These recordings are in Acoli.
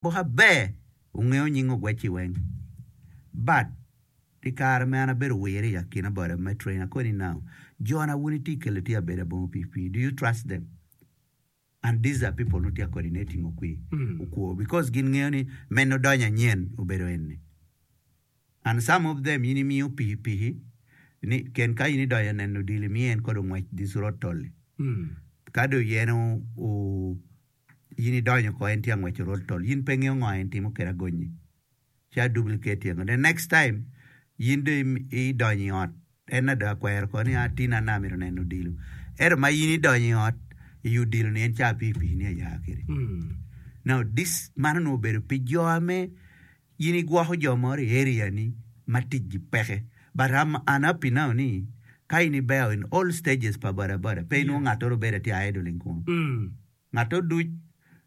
Gwoka ber wungeyo nying ogwecci weng. But i kare me an abedo wire i akina boda me train akoni now jona wun itye kelo tye abeda bongo pikipiki do you trust them and these are people nongo tye ka coordinating okwi okwo because gin ngeyo ni meno donyo anyen obedo eni and some of them in imiyo pikipiki ni ken ka in idonyo neno odilo imiyo en kodi ongwec this road tolli ka dong yen o In idonyo oko en tye angweco roll tol in pe ingeyo ngo en timo kede agonyi ci a duplicate engo the next time in dong idonyo i ot en na dong akwero oko ni a tin an amito neno odilo ento ma in idonyo i ot i odilo ni en ca pikipiki ni aya kede now this man onongo obedo pi jo ame in igwoko jo moro i area ni ma tic gi peke but I'm unhappy now ni ka in ibeo in all stages pa boda boda pe inwongo ngat oro bedo tye idling kunu. Ngat oduc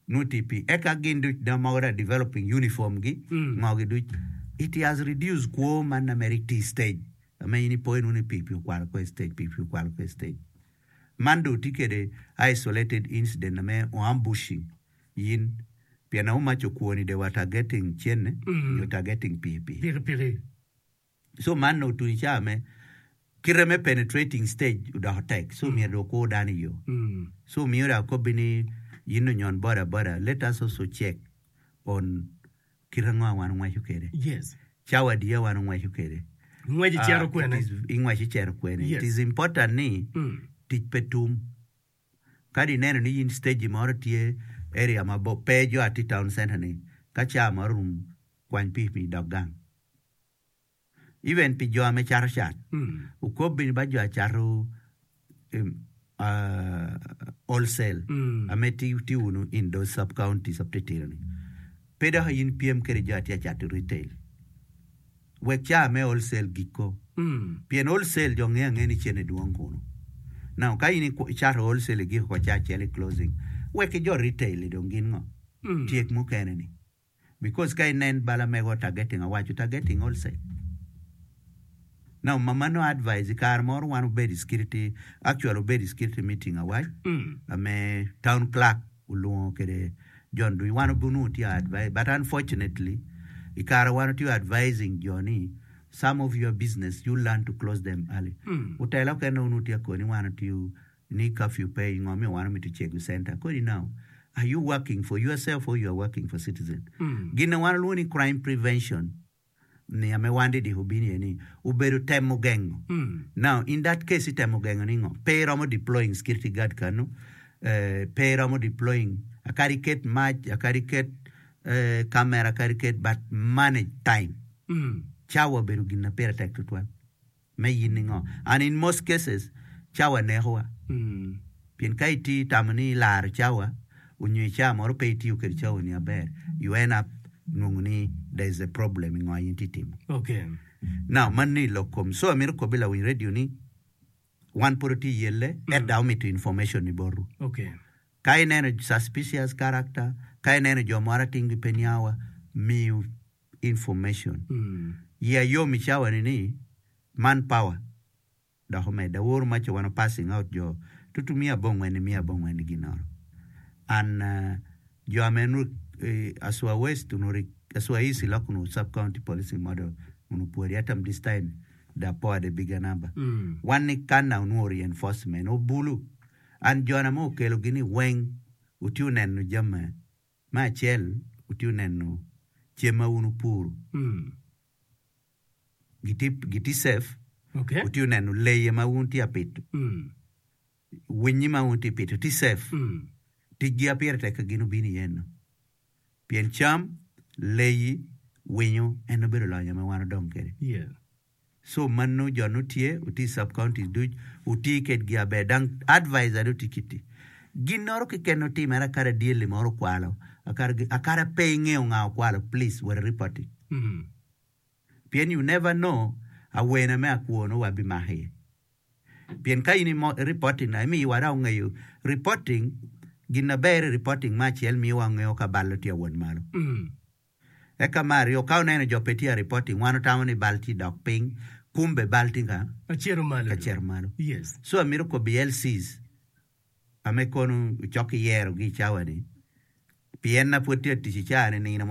nongo tye pi eka gin duc dong mogo dong developing uniform gi ngo gi duc it has reduced kwo man na mere iti stage ame in ipo inwongo ni pikipiki okwalo kor stage pikipiki okwalo kor stage man dong tye kede isolated incident ame o ambushing in pien how much okwoni they were targeting cene nyo targeting pikipiki. Pikipiki. So man nongo otuco i cawa me kite me penetrating stage odoko tek so myero dong okur dano i yo. So omiyo dong akobbi ni in onyon boda boda let us also check on kite ango ma wan ongweco kwede. Yes. Cawa adiya wan ongweco kwede. Ingwec icito kwene. Ingwec icito kwene. Yes. It is important ni tic pe tum. Kadi ineno ni in stage moro tye area mabor pe jo atye town center ni ka cawa moro orumo kwany pikipiki idok gang. Even pi jo me cato cat, okobbi ba jo acato wholesale ame tye wunu in those sub counties atitino ni pe dok in pyem kede jo atye acato retail wek ca me wholesale giko pien wholesale jo ngeyo angeya ni cene dwong kunu now ka in icato wholesale igiko ko ca acel i closing wek ki jo retail dong gin ngo tyek mukene ni. Because ka inen bal amego targeting awaco targeting wholesale. Now mama no advice i kare moro wan obedo i security actually obedo i security meeting awac ame town clerk olwongo kede John ducu wan onongo tye advice but unfortunately i kare wan otye advising jo ni some of your business you learn to close them early. Otela okene onongo tye akoni wan otiyo ni curfew pe ingo miyo wan omito cego center kodi now are you working for yourself or you are working for citizen gin ma wan walwongo ni crime prevention ni ame wan didiko obino iye ni obedo temo gengo now in that case itemo gengo ni ngo pe iromo deploying security guard kanu eh, pe iromo deploying akadi iket mac akadi iket eh, camera akadi iket but manage time cawa obedo gin ma pire tek tutwal. Me yin ningo? And in most cases, cawa nekowa. Pien ka iti tamo ni ilaro cawa, onyo i cawa moro pe itiyo kede cawa ni aber, you end up nongo ni there is a problem i ngo in itye timo. Okay. Now, man ni lok kom. So amito kobi lawiny radio ni, wan pud watye yelle, ento dok omito information ni botwu. Okay. Ka ineno suspicious character, ka ineno jo moro atingi pe niawa, miyo information. Iya yom i cawa ni ni man power dok omedde. Aworo ma ca wan passing out jo tutu miya abongwen ni miya abongwen ni ginoro. And jo ame nongo Aswa West onongo Aswa East iloko onongo sub county policing model onongo pwodi atam this time they are poured a bigger number. Wan ni kana onongo reinforcement obulu and jona ma okelo gi ni weng otye oneno jami Me acel, wutye neno cem ma wun wupuro gitye safe, wutye neno leye ma wun wutye ka pito, winyi ma wun wutye ka pito tye safe. Ticgi aye pire tek ka gin obino iye eno pien cam, leyi, winyo en obedo lonyo ma wan wadong kwede. So mano jo no tye oti sub counties duc oti ked gi aber dang advisor do tye kiti ginoro keken otimere akada dyeli moro okwalo akada pe ingeyo nga okwalo please wot report it pien you never know awene me akwo no wa bimako iye pien ka in i reporting na imiyo wa dong ongeyo reporting gin aber i reporting me acel miyo wa ngeyo ka bal tye awot malo. Eka me aryo, ka oneno jo pe tye a reporting, wan otamo ni bal tye dok piny, kumbe bal tye ka Acito malo ka cito malo. Yes. So amito kobo i LCs ame kono ocok ki yero gi i cawa ni. Pien na pwod tye ka tic i caa ni nino mo.